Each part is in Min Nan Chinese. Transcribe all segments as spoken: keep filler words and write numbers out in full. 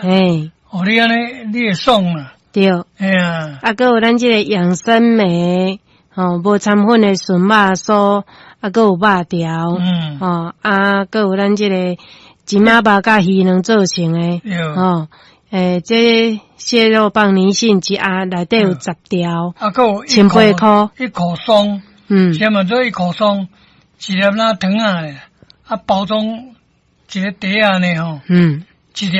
嘿，哦，你按呢你會爽啦。對。嘿啊。啊，閣有咱這個養生莓，吼，無摻粉的純肉酥，啊，閣有肉條，嗯，吼，啊，閣有咱這個金仔肉佮魚卵做成的，吼，欸，這蟹肉棒泥蕈一盒內底有十條，啊，閣有千八箍，一箍霜，嗯，啥物做一箍霜，一粒若糖仔，啊，包裝一个袋仔呢吼，嗯，一粒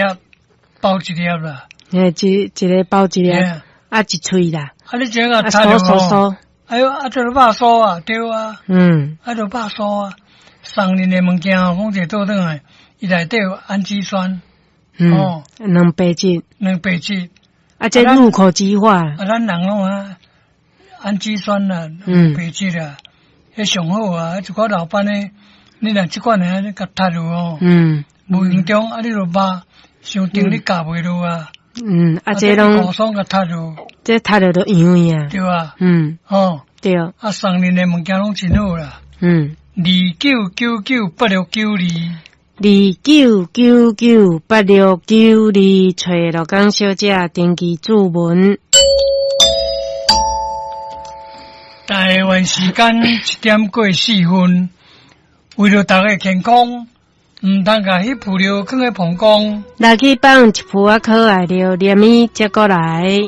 包一粒啦，欸，一一个包一粒，啊，一喙啦，啊，你這個酥酥酥，哎喲，啊，這個肉酥啊，對啊，嗯，啊，就肉酥啊，送恁的物件哦，講者倒轉來，伊內底有氨基酸，嗯，哦，蛋白質，蛋白質，啊，這入口即化，啊，咱人攏啊，氨基酸啊，蛋白質啊，彼上好啊，一寡老板的，你若這款的，你共讀落哦，嗯，無形中啊，你就肉傷重，你咬袂落啊。嗯，啊，這攏高爽共讀落，這讀落都營養啊，對啊，嗯，哦，對，啊，送恁的物件攏真好啦，嗯，二九九九八六九二，二九九九八六九二，揣鹿港小姐登記注文。台灣時間一點過四分，為著大家健康，毋通共彼浮料囥佇膀胱。來去放一浮仔可愛著，連伊接過來。